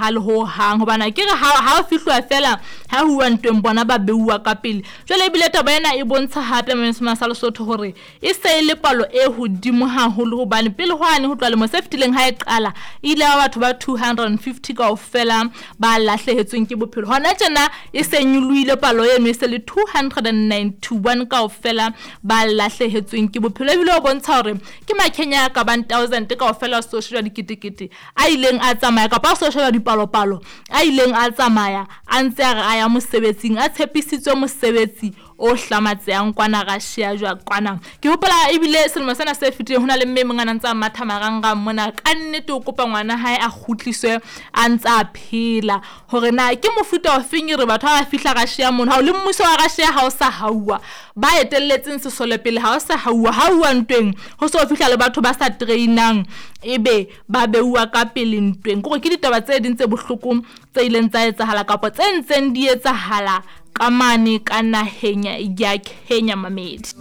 tshepahale ho hang, hobane ke re ha o fihluwa fela ha huwa ntweng bona ba beuwa ka pele. Jwale ebile taba ena e bontsha hape sa Lesotho hore e se e le palo e hodimo haholo, hobane pele hwane ho tloha lemo se fetileng ha e qala e ile ya batho ba 250 kaofela ba lahlehetsweng ke bophelo. Hona tjena e se nyolohile palo eno, e se le 291 kaofela ba lahlehetsweng ke bophelo. Ebile o bontsha hore ke Makenya a ka bang 1000 kaofela, so shejwa diketekete a ileng a tsamaya, kapa a so sheba dipalopalo a ileng a tsamaya a ntse a re a ya mosebetsing, a tshepisitswe mosebetsi o hlamatsehang kwana Russia jwa kwana. Ke hopola ebile selemo sena se fetileng ho na le mme e mong a na ntse a matha marangrang mona, ka nnete o kopa ngwana hae a kgutliswe a ntse a phela. Hore na ke mofuta ofeng e re batho ha ba fihla Russia mono, ha o le mmuso wa Russia ha o sa hauwa, ba etelletseng sesole pele ha o sa hauwa, ha uwa ntweng ho so fihla le batho ba sa trainang ebe ba beuwa ka pele ntweng. Kore ke ditaba tse ding tse bohloko tse ileng tsa etsahala kapa tse ntseng di etsahala ka mane ka naheng ya Kenya, mamedi.